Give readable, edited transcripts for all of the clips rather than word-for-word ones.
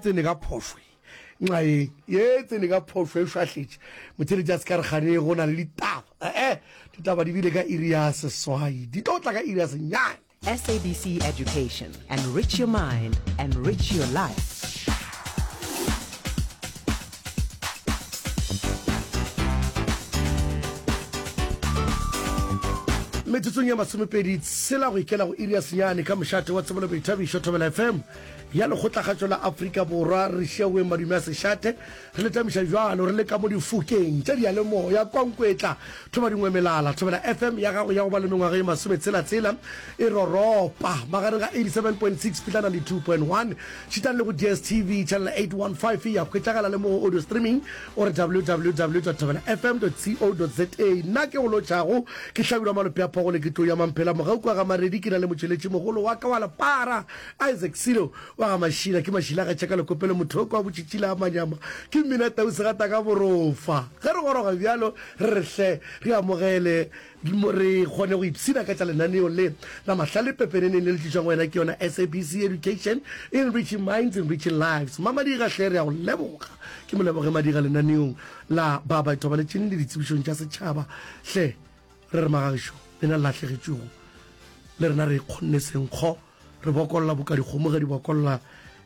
tsene ka phošo nxaeng ye tsene ka phošo e šwahletše motheletši a se ka re kgane go na le ditaba ee ditaba di bile ka iri ya seswai di tlo tla ka iri ya senyane SABC Education, enrich your mind, enrich your life. Metsotsong ya masomepedi tshela go ikela go iri ya senyane ka mošate wa tsebo le boithabišo Thobela FM ya Lekgotlakgatšo la Afrika Borwa re šiaweng madume a sešate re le tamiša bjalo re le ka mo difokeng tša diyalemoya kwa Nkwetla Thoba dingwe melala Thobela FM ya gago ya go ba le mengwaga ye masometshela-tshela e roropa magareng ga 87.6 fihla 92.1 šitang le go DSTV channel 815 ya hwetšagala le mo go audio streaming o re www.thobelafm.co.za. Nna ke go lotšhago ke Hlabirwa Malope a Phogole ke tlou ya Mamphela Mogau kwa ga Maredi ke na le motšweletši mogolo wa ka wa lepara Isaac Silo wa ga Mašila ke Mašila ga tšhaka lekopelo mothoko wa botšitšila a manyama ke mmina tau segata ka borofa ge re goroga bjalo re re hle re amogele re kgone go ipshina ka tša lenaneo le la mahlale pepeneneng le le tlišwang wena ke yona SABC Education, Enriching Minds, Enriching Lives. Mamadiga hle re a go leboga. Ke moleboge Madiga lenaneong la ba ba ithobaletšeng le ditsebišong tša setšhaba. Hle re re magagišo lena le lahlegetšwego le rena re kgonne senkgo re bokolla boka dikgomo ge di bokolla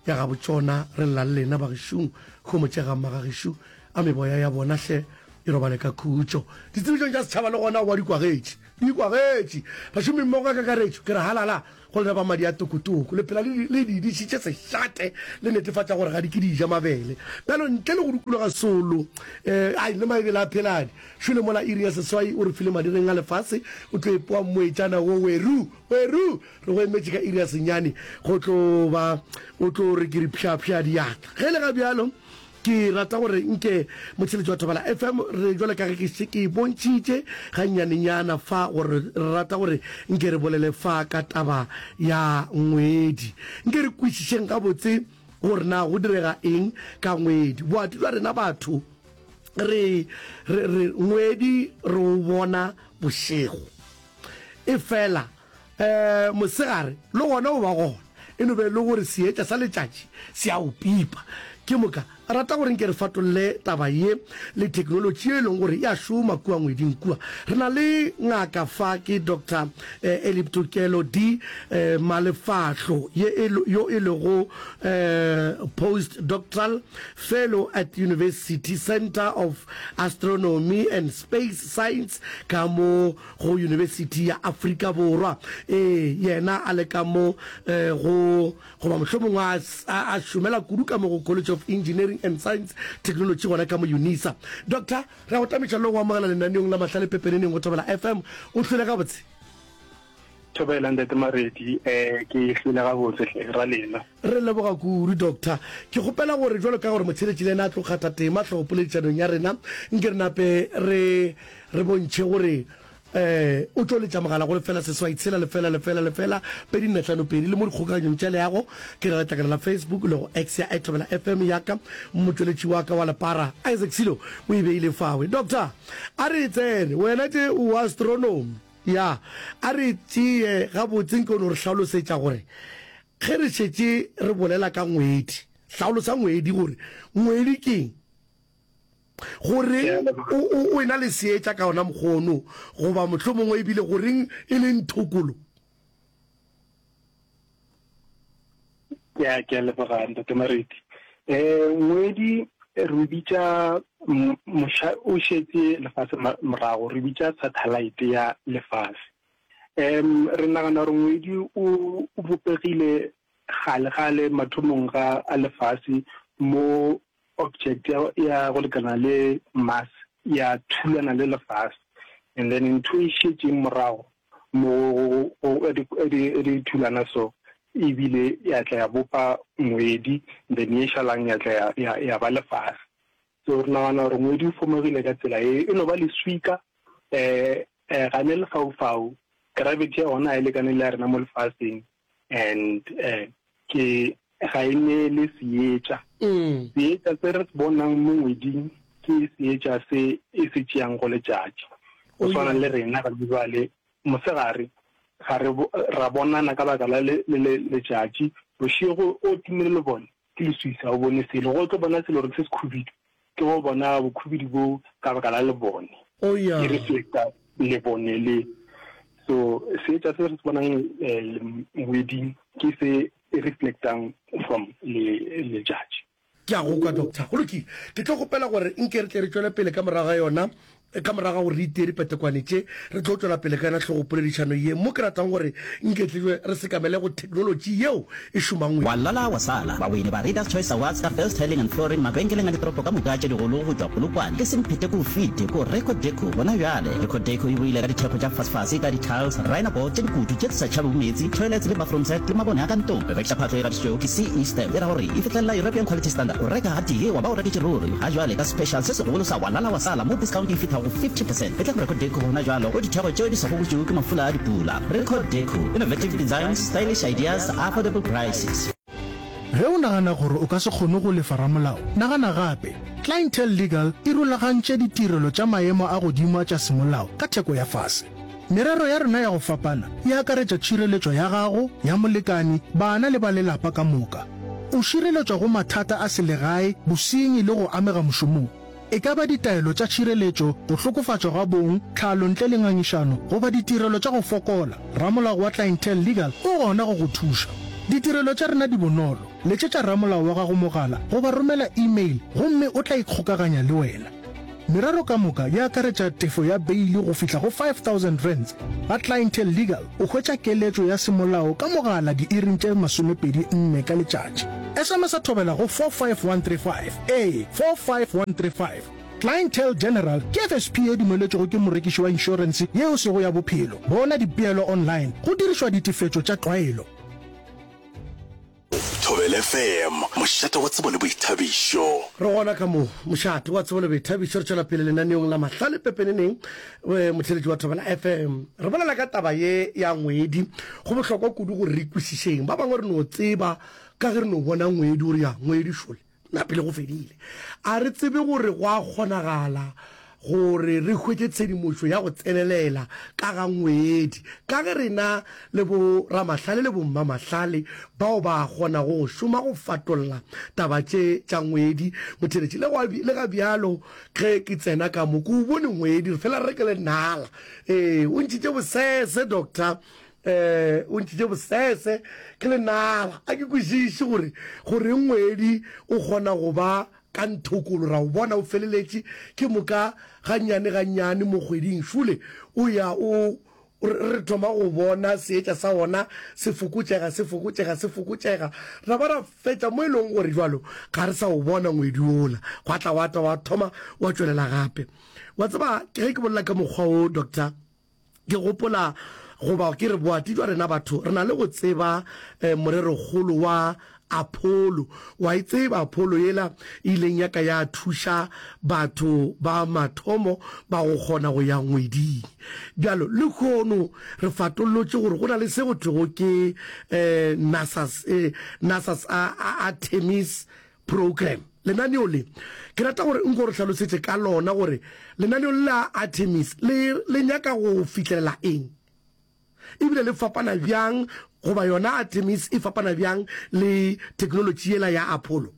ya gabo tšona re lla le lena bagešong homotšegang magagešu a meboya ya bona hle e robale ka khutšo. Ditsebišong tša setšhaba le gona wa di kwagetše, di kwagetše. Bašomimmogo ka kakaretšo, ke re halala go lena ba madi a tokotoko. Le phela le le di dišitše sešate, le netefatša gore ga di ke di ja mabele. Bjalo ntle le go dikologa solo, eh, ai le maebele a pheladi. Šole mola iri ya seswai o re file madireng a lefase, o tlo epoa mmoetšana wo weru, weru! Re go emetše ka iri ya senyane go tlo ba o tlo re ke re pšhapšha diatla. Ge e le ga bjalo, Ke rata gore nke motheeletši wa Thobela FM, re jwale ka ge ke šetše ke bontšhitše gannyanenyana fa gore re rata gore nke re bolele fa ka taba ya ngwedi. Nke re kwešišeng gabotse gore na go direga eng ka ngwedi. Boati bja rena batho re, re, re ngwedi re o bona bošego. Efela um mosegare le gona o ba gona, e no be e le gore seetša sa letšatši se a o pipa. Ke moka, rata gore nke re fatolle taba ye le theknolotši ye e leng gore e a šoma kua ngweding kua. Re na le ngaka fa, ke Doctor Elip Tokelo D. Malefahlo, ye e, yo e lego Postdoctoral Fellow at University Centre of Astronomy and Space Science ka mo go Yunibesithi ya Afrika Borwa. Ee, yena a le ka mo go, goba mohlomongwe a, a, a šomela kudu ka mo go College of Engineering and Science Technology gona ka mo Unisa. Doctor, re a go tamiša le go amogela lenaneong la Mahlale Pepeneneng go Thobela FM. O hlwele gabotse? Thobela, Ntate Maredi. Eh, ke hlwele gabotse hle, ra lena. Re leboga kudu, Doctor. Ke kgopela gore bjalo ka gore motheeletši le yena a tlo kgatha tema hlogopoledišanong ya rena, nke re nape re re bontšhe gore um o tlo letša mogala go lefela seswai tshela lefela lefela lefela pedi nne hlano pedi le mo dikgokaganyong tša leago ke ra letlakala la Facebook le go X ya Thobela FM ya ka motšweletši wa ka wa lepara Isaac Silo o e beile fawe. Doctor, a re e tsene wena tše o astronomy ya a re tšee gabotse nke o no re hlalosetša gore ge re šetše re bolela ka ngwedi hlalosa ngwedi gore ngwedi keng Goreng o, o, o ena le seetša ka ona mokgwa ono, goba mohlomongwe ebile goreng e le nthokolo? Ke a, ke a leboga, Ntate Mareti. Eh, ngwedi re o bitša moša o šetše lefase morago, re bitša satellite ya lefase. Um, re nagana gore ngwedi o, o bopegile kgale-kgale mathomong ga a lefase mo object ya, ya go lekana le Mars ya thulana le lefase and then ntho e šetšeng morago mo go di thulana so ebile ya tla ya bopa ngwedi then ye šalang ya tla ya, ya, ya ba lefase. So re nagana gore ngwedi o fomegile ka tsela ye, e no ba leswika um ga ne lefaufau, gravity ya gona ga e lekane le ya rena mo lefaseng and um ke ga e neele seetša. Seetša se re se bonang mo ngweding ke seetša se e se tšeang go letšatši. Go swana le rena ga bjale mosegare ga re ra bonana ka baka la letšatši, bošego o timile lebone. Ke leswiswi, ga o bone selo. Ge o tlo bona selo gore ke se sekhubidu, ke go bona bokhubidu bo ka baka la lebone. Oh, yeah. E reflecta lebone le. So seetša se re se bonang eh, ngweding ke se e reflectang from le letšatši. Ke a go kwa, Doctor. Go lokile. Ke tlo kgopela gore nke re tle re tšwele pele ka morago ga yona, ka morago ga gore re itee dipetekwane tše, re tlo tšwela pele ka yona hlogopoledišano ye, mo ke ratang gore nke tle re sekamele go theknolotši yeo e šomang. Wa lala wa sala. Bawini ba Readers Choice Awards ka First Tiling and Flooring mabenkeleng a ditoropo ka moka tše digolo go tšwa Polokwane ke Semphete ko fite ko Record Deco gona bjale. Record Deco e boile ka ditheko tša fasefase ka di-tiles, rhino board tše dikutu tše di sa tšhabego meetse, toilets le bathroom set le mabone a ka ntlong. Rekiša phahlo e gatišitšwego ke CE Stamp e ra gore e fihlelela European Quality Standard. O reka gatee wa ba o reketše ruri. Ga jwale ka special se segolo sa wa lala wa sala mo discount e fihlago go 50 percent. Etla go Record Deco gona jwalo go ditheko tšeo di sa gobotšwego ke mafula a dipula. Record Deco, innovative designs, stylish ideas, affordable prices. Ge o nagana gore o ka se kgone go lefa ramolao, nagana gape. Clientele Legal e rulagantše ditirelo tša maemo a godimo a tša semolao ka theko ya fase. Merero ya rena ya go fapana e akaretša tšhireletšo ya gago, ya molekane, bana le ba lelapa ka moka. O šireletšwa go mathata a selegae, bosenyi le go amega mošomong. E ka ba ditaelo tša tšhireletšo, go hlokofatšwa ga bong, tlhalo ntle le ngangišano goba ditirelo tša go fokola, ramolao wa Clientele Legal o gona go go thuša. Ditirelo tša rena di bonolo, letšetša ramolao wa gago mogala goba romela e-mail gomme o tla ikgokaganya le wena. Merero ka moka e akaretša tefo ya beili go fihla go R5000. Ga Clientele Legal o hwetša keletšo ya semolao ka mogala diiring tše 24 ka letšatši. SMS-a thobela go 45135, ee, 45135. Clientele General ke FSP ye dumeletšwego ke morekiši wa inšorense ye e sego ya bophelo. Bona dipeelo online go dirišwa ditefetšo tša tlwaelo. Thobela FM, mošate wa tsebo le boithabišo. Re gona ka mo, mošate wa tsebo le boithabišo. Re tšwela pele lenaneong la Mahlale Pepeneneng, motheeletši wa Thobela FM. Re bolela ka taba ye ya ngwedi. Go bohlokwa kudu gore re kwešišeng. Ba bangwe re no tseba ka ge re no bona ngwedi gore ya ngwedi šole. Na pele go fedile. A re tsebe gore go a kgonagala gore re hwetše tshedimošo ya go tsenelela ka ga ngwedi, ka ge rena le boramahlale le bommamahlale bao ba kgonago go šoma go fatolla taba tše tša ngwedi. Motheeletši, le gwa, le ga bjalo ge ke tsena ka mo, ke o bone ngwedi, re fela re re ke lenala. Ee, o ntšhitše bosese, Doctor. Eh, o ntšhitše bosese, ke lenala. A ke kwešiše gore goreng ngwedi o kgona go ba ka nthokolo, ra o bona o feleletše, ke moka gannyane gannyane mo kgweding šole o ya o re thoma go bona seetša sa wona se fokotšega, se fokotšega, se fokotšega, ra ba ra fetša mo e leng gore jwalo ga re sa o bona ngwedi wola, gwa tla wa tla wa thoma wa tšwelela gape. Wa tseba, ge ke bolela ka mokgwa wo, Doctor, Ke gopola, goba ke re boati jwa rena batho re na le go tseba eh, morerokgolo wa Apollo. Wa e tseba Apollo yela e ileng ya ka ya thuša batho ba mathomo ba go kgona go ya ngweding. Bjalo lehono re fatollotše gore go na le se go thwego ke eh, NASA's, eh, NASA's Artemis Program. Lenaneo le, ke rata gore nko re hlalosetše ka lona gore lenaneo le la Artemis le, le nyaka go fihlelela eng? Ebile le fapana bjang, goba yona Artemis e fapana bjang le theknolotši yela ya Apollo?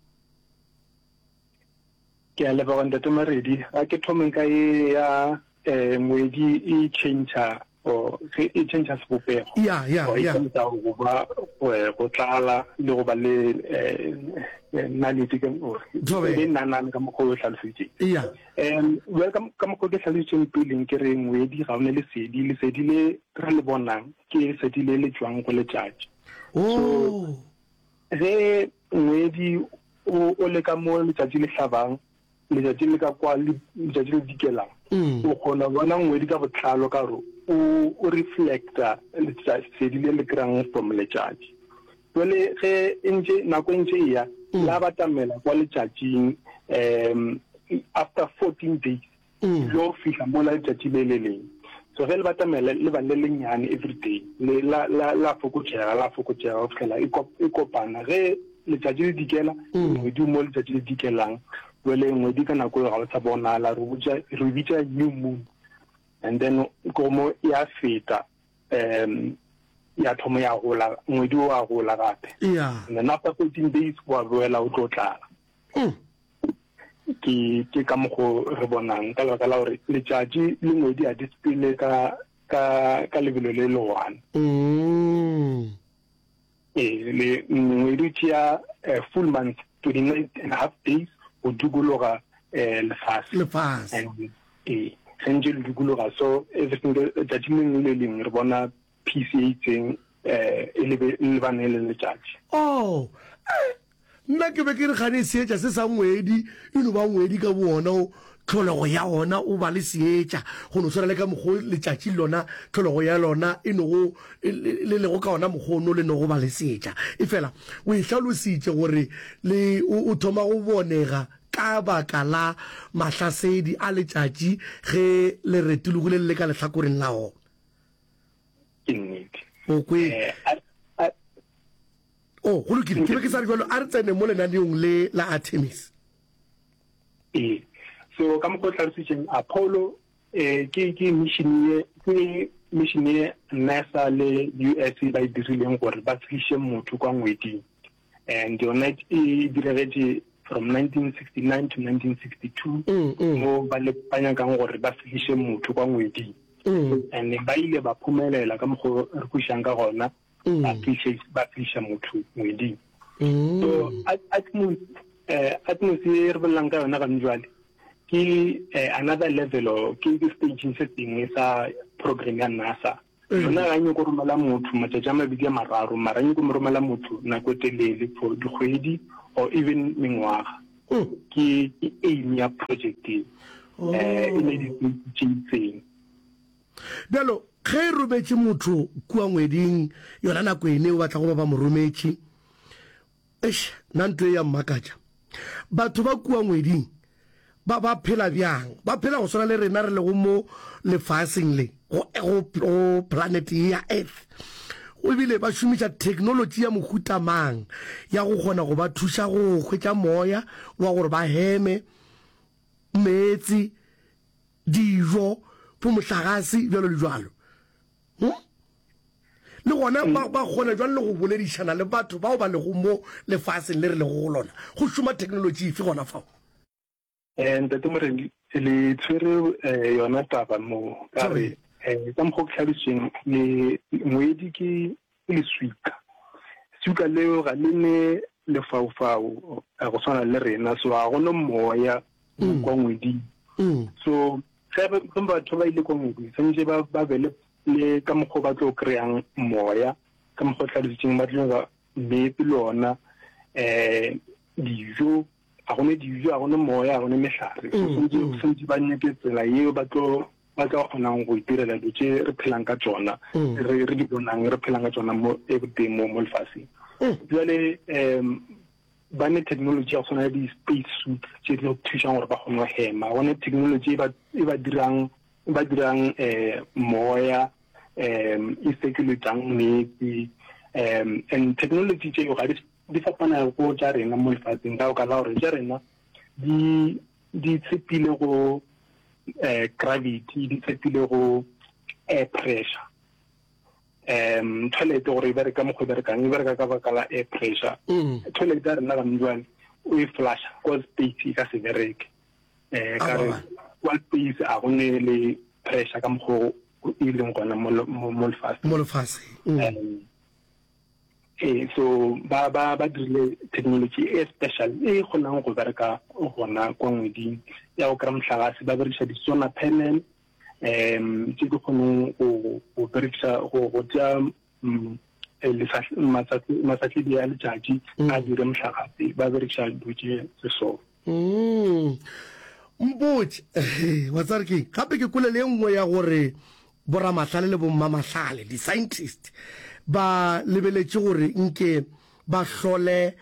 Ke a leboga Ntate Maredi. A ke thomeng ka ye ya eh, ngwedi e tšhentšha or ge e tšhentšha sebopego. Ya, ya, Or e ya. tšhentšha go ba eh, go tlala le go ba le eh, eh, naledi ka or Thobela. e be nanane ka mokgwa o hlaloseditseng. Ya. Um well ka ka mokgwa o ke hlalositseng peleng ke re ngwedi ga o ne lesedi, lesedi le re le bonang ke lesedi le le tšwang go letšatši. Oh. Ge ngwedi o o le ka mo letšatši le hlabang letšatši le ka kwa letšatši le dikelang mm. o kgona bona ngwedi ka botlalo ka gore o o reflecta lesedi le le kry-ang from letšatši jale ge e ntše nako e ntše e ya mm. la batamela kwa letšatšing um after 14 days mm. lo fihla mola letšatši le le leng so ge le batamela le ba le lennyane every day le la la la fokotšega la fokotšega go fihlela e, e kopana ge letšatši le dikela mm. ngwedi mo letšatši le dikelang jale ngwedi ka nako eo ga o sa bonala re botša re bitša new moon and then komo ya feta um. ya thoma ya gola, ngwedi o a gola gape. Yeah. And then after 14 days wa boela o tlo tlala. Mm. Ke ke ka mokgo re bonang ka lebaka la gore letšatši le ngwedi ga di sepele ka ka ka lebelo le le one. Mm. Ee, le ngwedi o tšea eh, full month 29 and a half days go dikologa eh, lefase. Lefase. And, ee, ge ntše le dikologa so every single letšatši le lengwe le lengwe re bona piece e itseng eh, e lebe- e lebane le letšatši. Oh, eh, Nna ke be ke re gane seetša se sa ngwedi e no ba ngwedi ka bowona, o, tlholego ya wona o ba le seetša, go no swana le ka mokgwa o letšatši lona tlholego ya lona e nogo, le lego ka ona mokgwa ono le nogo ba le seetša. Efela o e hlalositše gore le, o, o thoma go bonega ka baka la mahlasedi a letšatši ge le retologile le le ka lehlakoreng la ona. Ke nnete. O kwele. Eh, a, a, Oh, go lokile. Ke be ke sa re jalo, a re tsene mo lenaneong le la Artemis. Ee. So ka mokgwa o hlalositšeng Apollo eh ke ke mission ye ke mission ye NASA le US ba e dirileng gore ba tliše motho kwa ngweding. And yona e diregetše from 1969 to 1962 mm, mm. mo ba le ba nyakang gore ba fihliše motho kwa ngweding. Mm. And ba ile ba phumelela ka mokgwa re kwišang ka gona. ba fihle ba fihla motho ngweding so atmos eh atmos e re bolelang ka yona gane jwale ke eh, another level or ke ke stage se sengwe sa program ya NASA yona ga e nyako romela motho matšatši a mabedi a mararo mara e nyako mo romela motho nako e telele for dikgwedi or even mengwaga ke ke aim ya project e eh e ne di tse itseng Bjalo, ge e rometše motho kua ngweding, yona nako ene o batla go ba ba mo rometše. Eish, nna ntho e ya mmakatša. Batho ba kua ngweding ba ba phela bjang? Ba phela go swana le rena re lego mo lefaseng le, go, go, go planet ye ya Earth. Ebile ba šomiša theknolotši ya mohuta mang ya go kgona go ba thuša go hwetša moya wa gore ba heme, meetse, dijo, bo mohlagase, bjalo le bjalo. Hm? Le gona ba, ba kgona bjang le go boledišana le batho bao ba lego mo lefaseng le re lego go lona? Go šoma theknolotši efe gona fao? Eh, Ntate Moremi, le tshwere eh, yona taba mo ka re eh, ka mokgwa o ke hlalošeng le ngwedi ke ke leswika. Leswika leo ga le ne lefaufau eh, go swana le rena, so ga go no moya mm. kwa ngweding. Mm. So ge batho ba ile kwa ngweding tshwanetse ba ba be le ka mokgwa ba tlo kry-ang moya ka mokgwa o tlhalositseng ba tlo nyaka meetse le ona um dijo ga gone dijo ga gone moya ga gone mehlare so mm, tshwanetse ba nyake tsela yeo ba tlo ba tla kgonang go itirela dilo tše re phelang ka tšona mm. re re di bonang re phelang ka tšona mo everyday mo mo lefaseng mm. jale um ba ne technology ya go tshwana le di-space suits tše di thusang gore ba kgone go hema go ne technology e ba e ba dirang e ba dirang um moya um e circulatang metsi um and technology tšeo ga di fapana go tša rena mo lefatsheng ka baka la gore tša rena di di tshepile go eh, gravity di tshepile go air pressure um toilet gore e bereka mokgwa e berekang e bereka ka baka la air pressure mm. toilet ya rena gane jwale o e flasha kwa space e ka se bereke um ka re kwa space a go ne le pressure ka mokgwa e leng gona mo lefaseng mo lefaseng mm. Ee, so ba ba ba dirile technology e special e kgonang go bereka gona kwa ngweding ya go kry mohlagase ba berekiša di-solar panel um tse di kgonang go go berekisa go go tšea mm, eh, masatledi a letšatši mm. a dire mohlagase ba berekiša dilo tše tse so mm. Mpotše, wa tseba re keng? Gape ke kwele le e nngwe ya gore boramahlale le bommamahlale, di-scientist, ba lebeletše gore nke ba hlole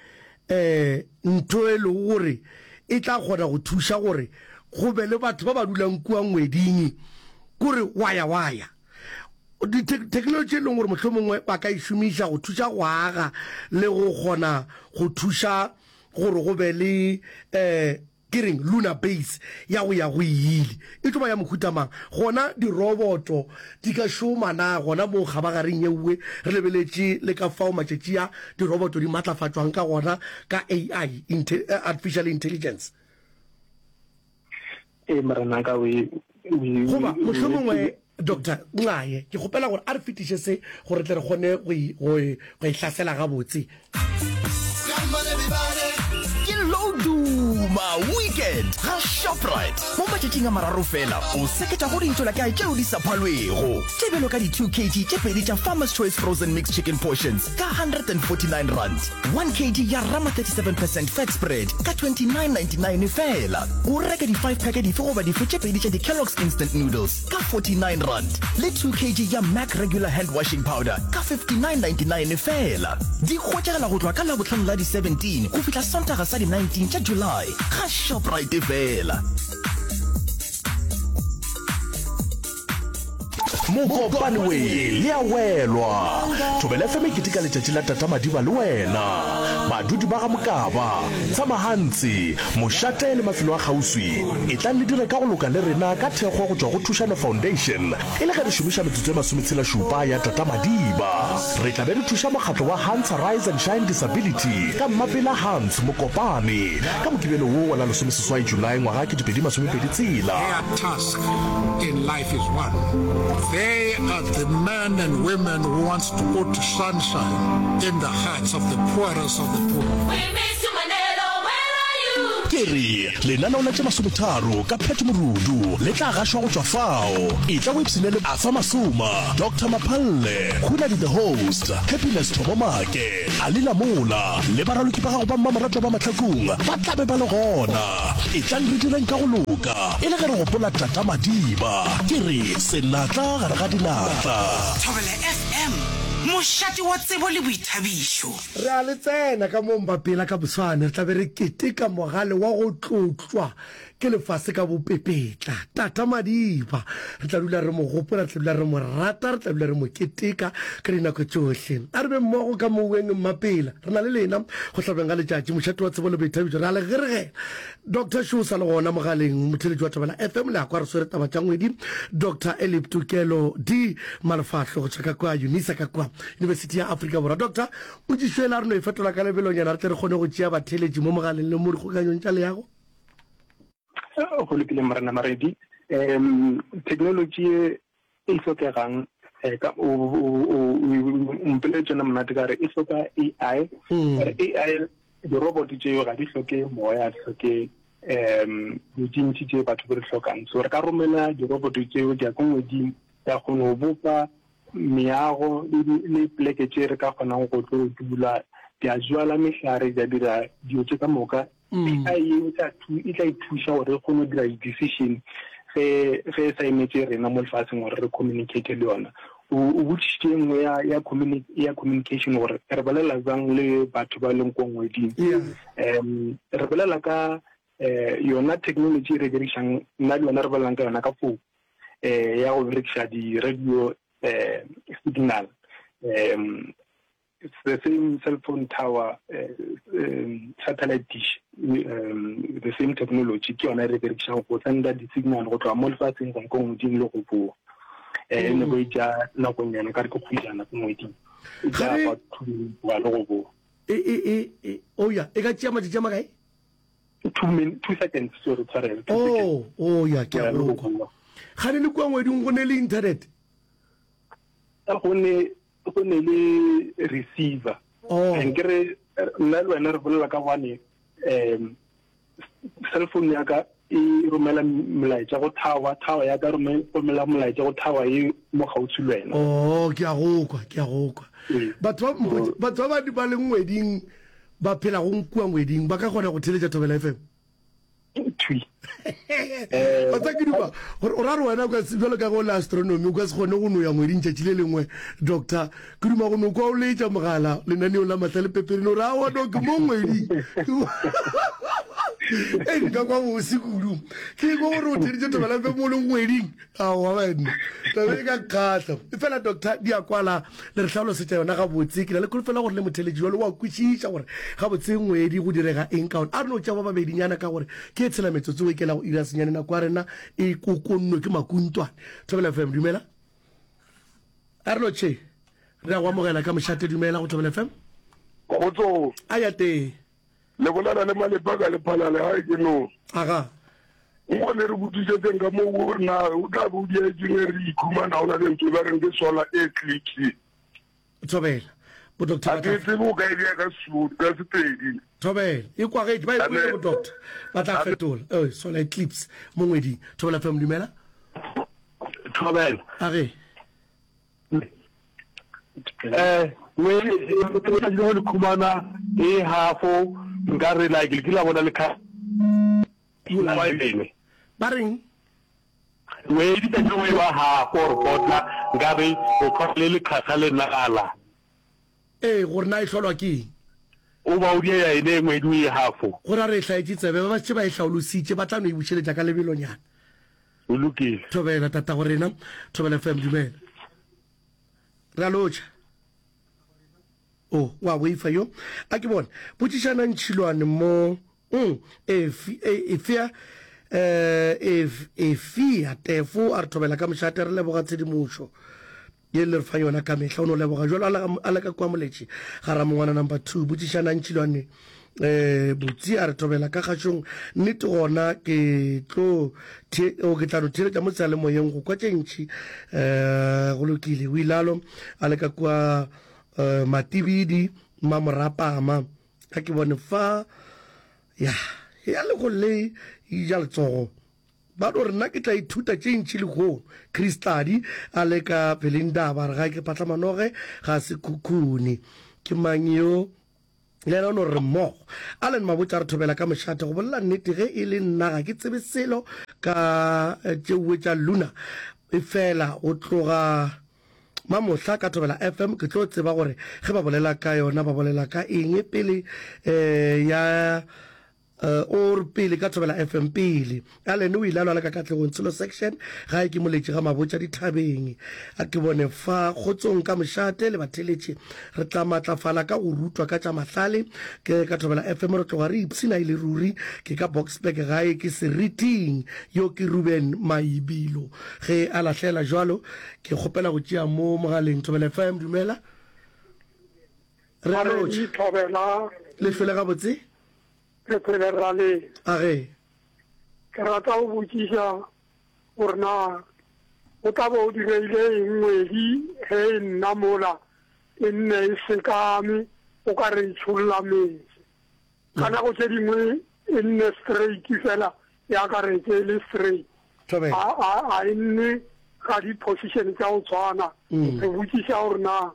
um ntho e lego gore e tla kgona go thuša gore go be le batho ba ba dulang kua ngweding, kore waya waya. Ditheknolotši e leng gore mohlomongwe ba ka e šomiša go thuša go aga le go kgona go thuša gore go be le um. Ke reng lunar base ya go ya go ile e tlo ba ya mohuta mang? Gona diroboto di ka šoma na gona moo kgabagareng yeuwe re lebeletše le ka fao matšatši a diroboto di matlafatšwang ka gona ka AI, artificial intelligence? Ee, morenaka, o e, o e, Goba mohlomongwe, Doctor Nxaye, ke kgopela gore a re fetiše se gore re tle re kgone go e, go e, go e hlasela gabotse. Ke Loduma Weekend ga Shoprite. Mo matšatšing a mararo fela, o seketša go dintšolakae tšeo di sa phalwego, tše bjalo ka di-2 kg tše pedi tša Farmer's Choice Frozen Mixed Chicken Portions ka R149, 1 kg ya Rama 37 percent fat spread ka 29.99 feela. O reke di 5 pack dife goba dife tše pedi tša di Kellogg's Instant Noodles ka R49 le 2 kg ya Mac Regular Hand Washing Powder ka 59.99 feela. Di hwetšagala go tloga ka Labohlano la di 17 go fihla Sontaga sa di 19 tša July ga Shoprite feela. Mokopane we le a welwa. Thobela FM e keteka letšatši la Tata Madiba le wena. Badudi ba ga Mokaba, Tsamahantsi, Mošate le mafelo a kgauswi, etlang le dire ka go loka le rena ka thekgo go tšwa go Thušano Foundation e le ge re šomiša metsotso e masometshela-šupa ya Tata Madiba. Re tla be re thuša mokgatlo wa Hans Rise and Shine Disability ka Mmapela Hans Mokopane ka Mokibelo wo wa la lesomeseswai Julae ngwaga 2026. Their task in life is one. They are the men and women who wants to put sunshine in the hearts of the poorest of the poor. We miss you Manelo, where are you? Ke re, lenaneo la tše masometharo ka Pat Morudu le tla gašwa go tšwa fao. Etla o ipshine le Arthur Masoma, Doctor Maphalle, Hunadi the Host, Happiness Thomo Make, Ali Lamola le baraloki ba gago ba mmamoratwa ba Mahlakung ba tla be ba le gona. Etlang re direng ka go loka e le ge re gopola Tata Madiba. Ke re senatla gare ga dinatla. Thobela FM, mošate wa tsebo le boithabišo. Re a le tsena ka mo Mbapela ka moswane re tla be re keteka mogale wa go tlotlwa ke lefase ka bopepetla, Tata Madiba. Re tla dula re mo gopola, re tla dula re mo rata, re tla dula re mo keteka ka dinako tšohle. A re be mmogo ka moweng Mmapela. Re na le lena go hlabeng ga letšatši, mošate wa tsebo le boithabišo. Re a le geregela. Doctor Šo o sa le gona mogaleng, motheeletši wa Thobela FM, le a kwa re swere taba tša ngwedi. Doctor Elip Tokelo D. Malefahlo go tšwa ka kua Unisa ka kua Yunibesithi ya Afrika Borwa. Doctor, potšišo ela re no e fetola ka lebelonyana re tle re kgone go tšea batheeletši mo mogaleng le mo dikgokanyong tša leago. Go lokile Morena Maredi. Um technology e e hlokegang eh, ka o mpoleletše yona monate ka re e hloka AI. Mm. AI di-robot tšeo ga di hloke moya, di hloke um dilo tše ntši tše batho ba di hlokang. So re ka romela di-robot tšeo di ya ko ngweding, ya kgona go bopa meago le poleke tše re ka kgonang go tlo dula, di a jwala mehlare, di a dira dilo tše ka moka. Mm. AI e tla e tla e thuša gore e kgone go dira di-decision ge ge e sa emetše rena mo lefatsheng gore re communicate le yona. O o botšišitše e nngwe ya ya communi ya communication gore re bolela bjang le batho ba leng ko ngweding. Um re bolela ka um yona technology e re dirišang nna le yona re bolelang ka yona ka phone um ya go berekiša di-radio um signal um it's the same cell phone tower uh, um, satellite dish um, the same technology ke yona e re berekišang go senda di-signal go tloga mo lefatsheng go ya ko ngweding le go boa um e ne go e tša nakonyana ka re ke kgwejana ko ngweding e tša batho le go boa e e e e oh ya e ka tšea matšatši a makae Two seconds, sorry, tshwarelo. Oh, oh ya ke a go kwa. Gane le kua ngweding go ne le internet? Go ne go ne le receiver. Oh. Ke re nna le wena re bolela ka gwane um cell phone ya ka e romela molaetša go tower, tower ya ka romela molaetša go tower e mo kgauswi le wena. Oh, ke a go kwa, ke a go kwa. Ee. Batho ba batho ba ba leng ngweding ba phelago kua ngweding ba ka kgona go theletša Thobela FM? Thwi. Wa tseba ke duma gore o ra re wena o ka se bjalo ka ge o le astronomy o ka se kgone go no ya ngweding tšatši le lengwe doctor ke duma go no kwa o letša mogala lenaneong la Mahlale Pepenene o re aowa no ke mo ngweding. E nka kwa bose kudu. Ke kwa gore o theditše Thobela FM o le ngweding. Aowa banna. Taba e ka kgahla. Efela doctor di a kwala le re hlalosetša yona gabotse. Ke na le kholofelo gore le motheletši jalo wa kwešiša gore gabotse ngwedi go direga eng ka ona. A re no tšea ba babedinyana ka gore ke e tshela metsotso e kela go ira senyane nako ya rena e kokonnwe ke makuntwane. Thobela FM dumela. A re lotšhe. Re a go amogela ka mošate dumela go Thobela FM. Kgotsong. A ya tee. Le bolela le Malepa ka Lephalale gae ke no. Aga. Nkgone re botšišetseng ka moo gore na o tla be o diaetseng ge re ikhumana go na le ntho e ba reng ke solar eclipse. Thobela. Bo doctor Ga ke tsebe o ka e bea ka Sesotho, ka Sepedi. Thobela. E kwagetše, ba e kwele bo doctor. Ba tla fetola. Eh, solar eclipse mo ngweding. Thobela FM dumela. Thobela. Age. Eh, we letšatši le go le khumana e halfo nka re like le kile la bona le kha ba reng we letšatši le go e ba halfo or quarter nka re o khona le lekhakha le nala ee gore na e hlolwa ke eng o ba o dia ene ngwedi o e halfo gore a re e hlaetše tsebe ba ba šetše ba e hlaolositše ba tla no e bušeletša ka lebelonyana O lokile. Thobela tatago rena. Thobela FM dumela. Re a lotšha. O wa boifa yo. A ke bone. Botšišana ntšhilwane mo. Mm, efi, e, efea, eh, efia tefo a re thobela ka mošate re leboga tshedimošo. Ye le re fa yona ka mehla. O no leboga jalo a le ka kua Moletši ga Ramongwana number 2. Botšišanang Tšilwane eh Botsi a re thobela ka kgašong. Nnete gona ke tlo the o ke tla no theeletša mo seyalemoyeng go kwa tše ntši. Eh go lokile. O ilalo a le ka kua eh, Matibidi Mmamorapama. Ga ke bone fa ya ya le go le ja letsogo. Ba no re nna ke tla ithuta tše ntši lehono. Chris Tladi a le ka Pelindaba a re ga ke Phatlamanoge ga se khukhune. Ke mang yo? Le yena o no re mmogo. Allen Mabotja a re thobela ka mošate. Go bolela nnete ge e le nna ga ke tsebe selo ka tšeuwe tša Luna. Efela go tloga mamohla ka Thobela FM ke tlo tseba gore ge ba bolela ka yona ba bolela ka eng pele eh, ya O re pele ka Thobela FM pele. Allen o ile a lwala ka Katlegong Tsholo Section gae ke moletši ga Mabotja dithabeng. A ke bone fa kgotsong ka mošate le batheletši re tla matlafala ka go rutwa ka tša mahlale ke ka Thobela FM re tloga re ipshina e le ruri ke ka Boksburg gae ke Seriting yo ke Ruben Maibilo ge a lahlela jwalo ke kgopela go tšea mo mogaleng Thobela FM dumela re a lotšha Thobela le hlole gabotse Re phele ra le. A ge. Ke rata go botšiša gore na go tla bo go diregile eng ngwedi ge e nna mola e nne e sekame o ka re e tšholla meetse. Ka nako tše dingwe e nne straight fela ya ka re e le straight. A, a, a e nne ga di position tša go tshwana. Mm. Re botšiša gore na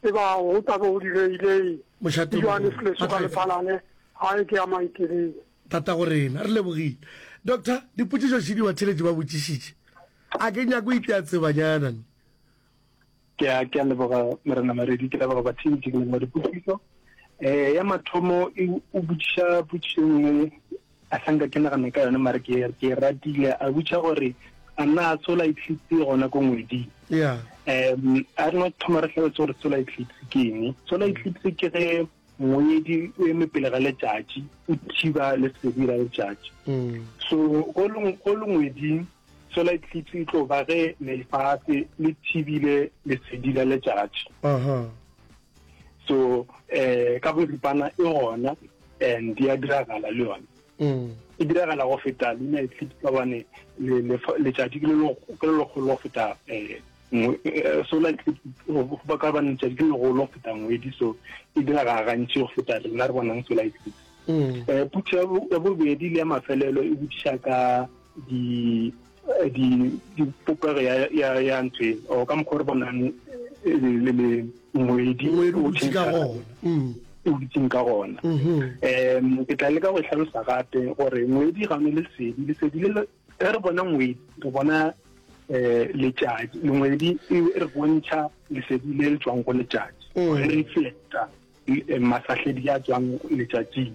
e ba go tla be go diregile eng. Mošate o Johannes mogolo. Leso ka Lephalale, gae ke ya Maikelele. Tata go rena, re lebogile. Doctor, dipotšišo šedi batheeletši ba botšišitše. A ke nyako itea tsebanyana. Ke a ke a leboga Morena Maredi, ke leboga batheetši, ke leboga dipotšišo. Eh ya mathomo e o botšiša potšišo e nngwe a sa nka ke nagana ka yone mare ke ke e ratile a botša gore a na solar eclipse e gona ko ngweding. Yeah. Um a re no thoma re hlalose gore solar eclipse ke eng. Solar eclipse ke ge ngwedi o eme pele ga letšatši o thiba lesedi la letšatši. So go le go le ngweding Solar eclipse e tlo ba ge lefase le thibile lesedi la letšatši. Aha. So eh ka boripana e gona and ya diragala le yona. Mm. E diragala go feta lunar eclipse ka bane letšatši ke le legolo go feta eh, eh solar eclipse ba ka bane letšatši ke le legolo go feta ngwedi so e diragala gantši go feta rena re bonang solar eclipse. Mm. Eh putšo ya bobedi le ya mafelelo e botšiša ka di di di popego ya ya ya ntho e o ka mokgwa re bonang eh, le le ngwedi ngwedi o dutše ka gona mm. o dutseng ka gona mm-hmm. um ke tla leka go e hlalosa gape gore ngwedi ga one lesedi lesedi le ge re bona ngwedi re bona um letšatši ngwedi e re bontšha lesedi le le tswang go letšatši mm. re reflecta eh, masahledi a tswang letšatšing.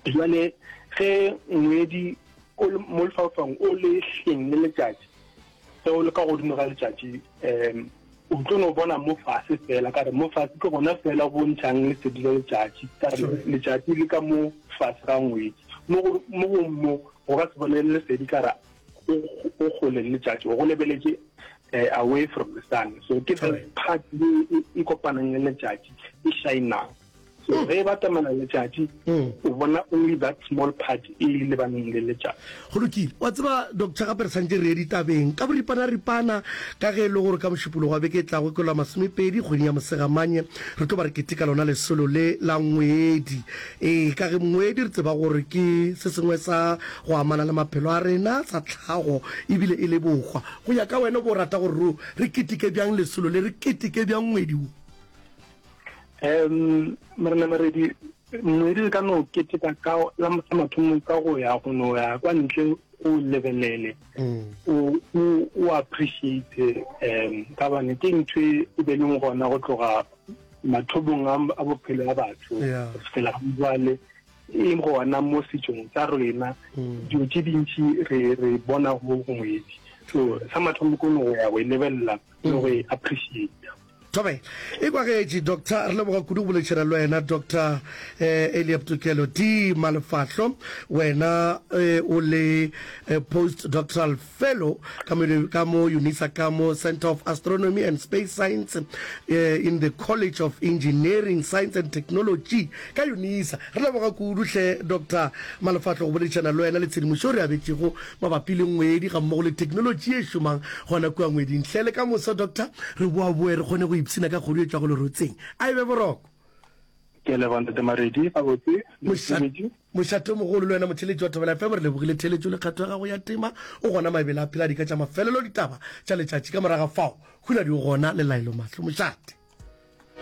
Jwale ge ngwedi o le mo lefaufaung o le hleng le letšatši, ge o le ka godimo ga letšatši um o tlo no bona mo fase fela, ka re mo fase ke gona fela go ntšhang lesedi la letšatši, ka re letšatši le ka mo fase ga ngwedi. Mo go mo go mo go ka se bone lesedi ka re o kgole le letšatši, o go lebeletše eh, away from the sun. So ke part e e kopanang le letšatši e shinang. So ge e batamela letšatši o bona only that small part e lebaneng le letšatši. Go lokile. Wa tseba, Doctor, gape re santše re ye ditabeng ka boripana-ripana, ka ge e le gore ka Mošupologo wa beke e tlago ke la masomepedi kgweding ya Mosegamanye, re tlo ba re keteka lona lesolo le la ngwedi. Ee, ka ge ngwedi re tseba gore ke se sengwe sa go amana le maphelo a rena, sa tlhago, ebile e le bohwa. Go ya ka wena, o bo rata gore re keteke bjang lesolo le, re keteke bjang ngwedi wo? Um Morena Maredi, ngwedi re ka no keteka ka la sa mathomo ka go ya go no ya kwa ntle o lebelele mm. o o appreciate um ka bane ke ntho e, e be leng gona go tloga mathomong a bophelo a batho go fihlela jwale e gona mo setsong sa rena mm. dilo tše dintši re re bona go ngwedi so sa mathomo ke no go ya go e lebelela le go e appreciate Thobela. E kwagetše, Doctor. Re leboga kudu go boledišana le wena, Doctor eh, Eliab Tokelo D. Malefahlo. Wena eh, o le eh, postdoctoral fellow ka mo, ka mo UNISA ka mo Center of Astronomy and Space Science eh, in the College of Engineering, Science and Technology ka UNISA. Re leboga kudu hle, Doctor Malefahlo, go boledišana le wena le tshedimošo re abetšego mabapi le ngwedi gammogo le theknolotši ye e šomang gona kua ngweding. Hle le ka moso, Doctor, re boaboe re kgone go ipshina ka kgodu e tšwago lerotseng. A e be boroko. Ke a leboga Ntate Maredi, gabotse. Mošate, mošate o mogolo le wena motheeletši wa Thobela FM, re lebogile theeletšo le kgatho ya gago ya tema. O gona mabele a phela dika tša mafelelo ditaba tša letšatši ka moraga fao. Huladi o gona le Laelo Mahlo. Mošate.